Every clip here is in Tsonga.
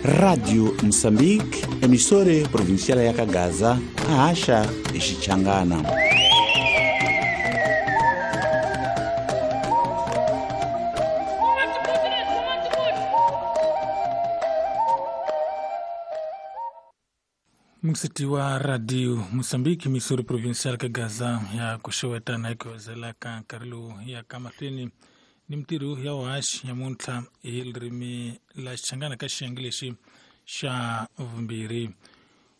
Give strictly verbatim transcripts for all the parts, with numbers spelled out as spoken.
Rádio Moçambique, emissora provincial ya Kagaza, a Xichangana. Msiti wa Radio Mozambique, emissora provincial Kagaza ya kuxewetana ekuwezelaka nkarhi lowu ya ka mahlweni ni mintirho ya vuhaxi nyamuntlha hi ririmi la Xichangana ka xiyenge lexi xa vumbirhi.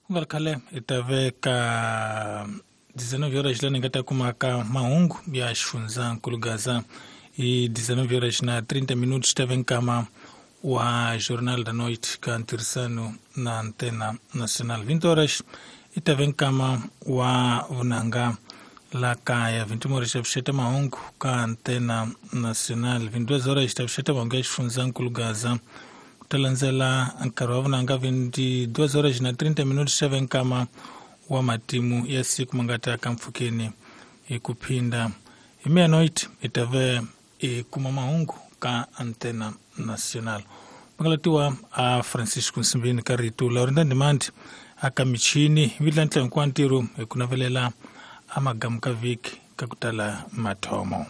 Ku nga ri khale hi ta veka dezenove horas lani hi nga ta kumaka mahungu ya xifundzankulu Gaza hi dezenove horas na trinta minutos ta ve nkama wa Jornal da Noite ka ntirhisano na Antena Nacional. vinte horas i ta ve nkama wa vunanga la kaya. vinte horas ta vuxeta mahungu ka Antena Nacional. vinte e duas horas ta vuxeta mahungu ya xifundzankulu Gaza. Ku ta landzela nkarhi wa vunanga vinte e duas horas na trinta minutos ta ve nkama wa matimu ya siku ma nga ta ka mpfhukeni hi ku phinda. Hi meia-noite hi ta ve hi kuma mahungu ka Antena Nacional. Makalatiwa a Francisco Nsimbini ka rito Laurinda Ndimandi aka michini vitla ntla hinkwawo ntirho hi ku navelela a magamu ka vhiki ka ku tala mathomo.